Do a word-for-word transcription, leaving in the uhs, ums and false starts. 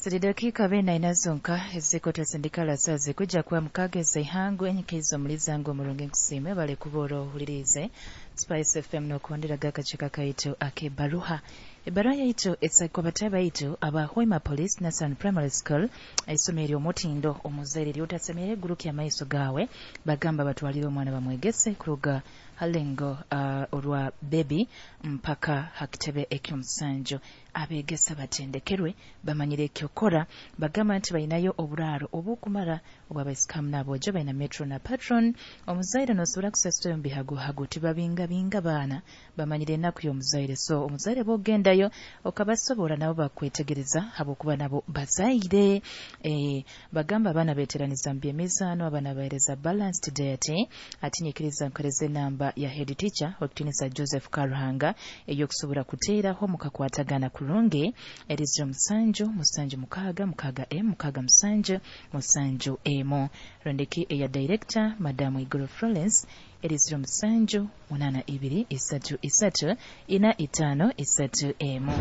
Ziri dakiika bina ina zonka ezikutuzindikala sazi kujja kuba mukaaga ez'eihangwe enyikiriza omulizango omurungi nkusiime bale kuba ohuliriize Spice F M n'okuhonderaga akakiiko kaitu ak'ebbaruha. Ebbaruha yaitu esakwa batayi baitu aba Hoima Police National Primary School, eisomero ery'omutindo omuzaire ly'otasemere gurukya amaiso gaawe, bagamba batwalire omwana bamwegese kuruga halengo uh, orwa baby mpaka hakitebe eky'omusanju. Abeegesa batendekerwe bamanyire ekyokora, bagamba nti bainayo oburaaro obukumara obw'abaisikamu n'aboojo, baina metro na patron. Omuzaire n'osobora kusasura omu bihagohago, tibabingabinga baana, bamanyire ennaku y'omuzaire. So omuzaire bw'ogendayo okabasobora nabo bakwetegereza habwokuba nabo bazaire. E, bagamba abaana beteraniza mu by'emizaano, abaana bahereza balanced diet. Ati nyikiriza nkoreze enamba ya head teacher Okitinisa Joseph Karuhanga ey'okusobora kuteeraho mukakwatagana kurungi, eri ziro musanju musanju mukaaga mukaaga emu mukaaga musanju musanju emu. Rondeki eya director Madamu Iguru Florence eri ziro musanju munaana ibiri isatu isatu ina itaano isatu emu.